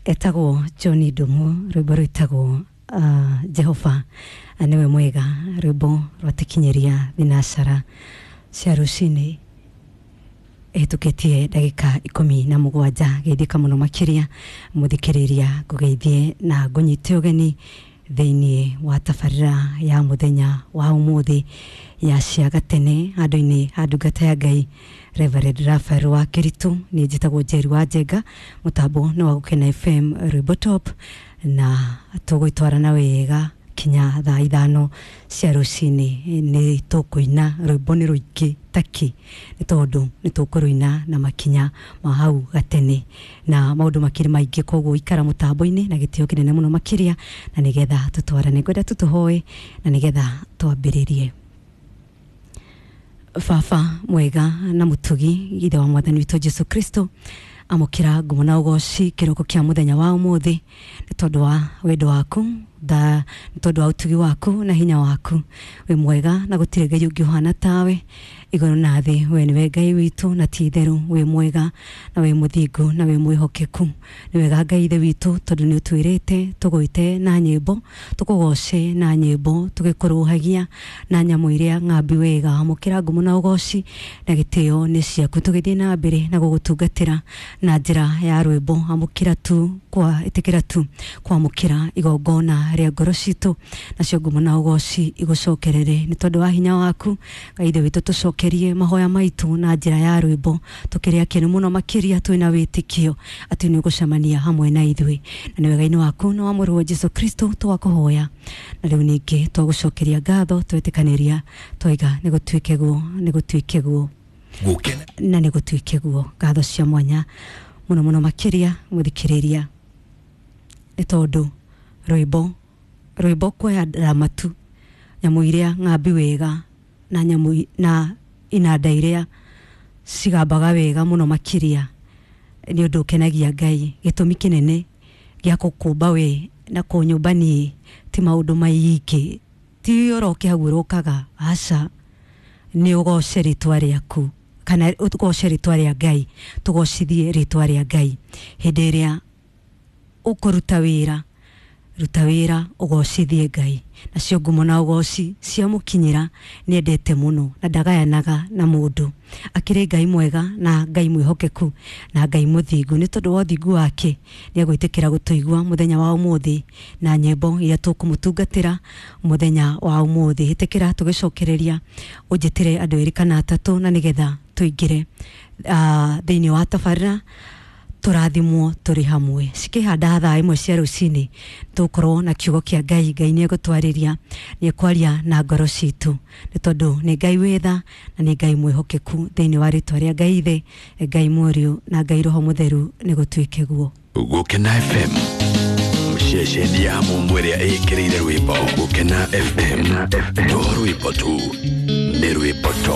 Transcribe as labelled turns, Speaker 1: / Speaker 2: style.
Speaker 1: Etagwo John Ndumu, rwimbo rwitagwo Jehova niwe mwega, rwimbo rwatikinyiria thinacara cia rucini ĩhĩtũkĩtie ndagĩka 17. Geithĩka mũno makĩria mũthikĩrĩria, ngũgeithie na ngũnyite ũgeni thĩinĩ wa tabarĩra ya mũthenya wa ũmũthĩ ya cia gatene handũ-inĩ ha ndungata ya Ngai Reverend Raphael wa Kĩritũ. Niĩ njĩtagwo Njeri wa Njenga, mũtambo nĩ wa Gũkena FM rwĩmbo top, na tũgũitwarana wega kinya thaa 5 cia rũcinĩ. Nĩ tũkũina rwĩmbo nĩ rũingĩ taki nĩ tondũ nĩ tũkũrũina na makinya ma hau gatene na maũndũ makĩrĩ maingĩ, koguo ikara mũtambo-inĩ na gĩtĩo kĩnene mũno makĩria, na nĩgetha tũtwarane ngwenda tũtũhoe na nĩgetha twambĩrĩrie. Baba mwega na mũtugi, ithe wa mwathani witũ Jesu Kristo, amũkĩra ngumo na ũgoci kĩroko kĩa mũthenya wa ũmũthĩ nĩ tondũ wa wendo waku nĩ tondũ wa ũtugi waku na hinya waku. Wĩ mwega na gũtirĩ Ngai ũngĩ ũhana tawe igũrũ na thĩ. We nĩwe Ngai witũ na ti itherũ wĩ mwega na wĩ mũthingu na wĩ mwĩhokeku. Nĩ wega Ngai ithe witũ, tondũ nĩ ũtwĩrĩte tũgwĩte na nyĩmbo, tũkũgoce na nyĩmbo, tũgĩkũrũhagia na nyamũ iria ng'ambi wega. Amũkĩra ngumo na ũgoci na gĩtĩo nĩ ciaku, tũgĩthiĩ na mbere na gũgũtungatĩra na njĩra ya rwĩmbo. Amũkĩra tu kwa ĩtĩkĩra tu kwamũkĩra igongona rĩa ngoro citũ, nacio ngumo na ũgoci igũcokerere nĩ tondũ wa hinya waku. Ngai ithe witũ, tũcokerie mahoya maitũ na njĩra ya rwĩmbo, tũkĩrĩ akenu mũno makĩria twĩna wĩtĩkio atĩ nĩ ũgũcemania hamwe na ithuĩ, na nĩ wega-inĩ waku na wa mũrũwe Jesu Kristo twakũhoya, na rĩu ningĩ twagũcokeria ngatho, twetĩkanĩria twaiga nĩ gũtuĩke guo, nĩ gũtuĩke guo na nĩ gũtuĩke guo. Ngatho cia mwanya mũno mũno makĩria mũthikĩrĩria, nĩ tondũ rwĩmbo kuoya ramatu nyamũ iria ng'ambi wega na nyamũ na inanda iria cigambaga wega mũno makĩria nĩ ũndũ ũkenagia Ngai. Gĩtũmi kĩnene gĩa gũkũmba we na kũnyũmba niĩ ti maũndũ maingĩ, ti ũroke hau ũrokaga, aca, nĩ ũgoce rĩtwa rĩaku kana ũgoce rĩtwa rĩa Ngai, tũgocithie rĩtwa rĩa Ngai. Hĩndĩ ĩrĩa ũkũruta wĩra, ruta wĩra ũgocithie Ngai, nacio ngumo na ũgoci ciamũkinyĩra. Nĩendete mũno na ndagayanaga na mũndũ. Akĩrĩ Ngai mwega na Ngai mwĩhokeku na Ngai mũthingu. Nĩ tondũ wa ũthingu wake nĩ egwĩtĩkĩra gũtũigua mũthenya wa ũmũthĩ na nyĩmbo iria tũkũmũtungatĩra mũthenya wa ũmũthĩ. Ĩtĩkĩra tũgĩcokereria ũnjĩtĩre andũ erĩ kana atatũ, na nĩgetha tũingĩre thĩinĩ wa tabarĩra, tũrathimwo tũrĩ hamwe. Cikĩhanda thaa 1 cia rũcinĩ tũgũkorwo na kiugo kĩa Ngai. Ngai nĩ egũtwarĩria, nĩ ekwaria na ngoro citũ, nĩ tondũ nĩ Ngai wĩ tha na nĩ Ngai mwĩhokeku. Thĩinĩ wa rĩtwa rĩa Ngai Ithe, Ngai Mũriũ na Ngai Roho Mũtheru, nĩ gũtuĩke guo.
Speaker 2: Gũkena FM, ceceni ya mũmwe ĩrĩa ĩkĩrĩire rwĩmbo. Gũkena FM, to rwĩmbo tu, nĩ rwĩmbo to.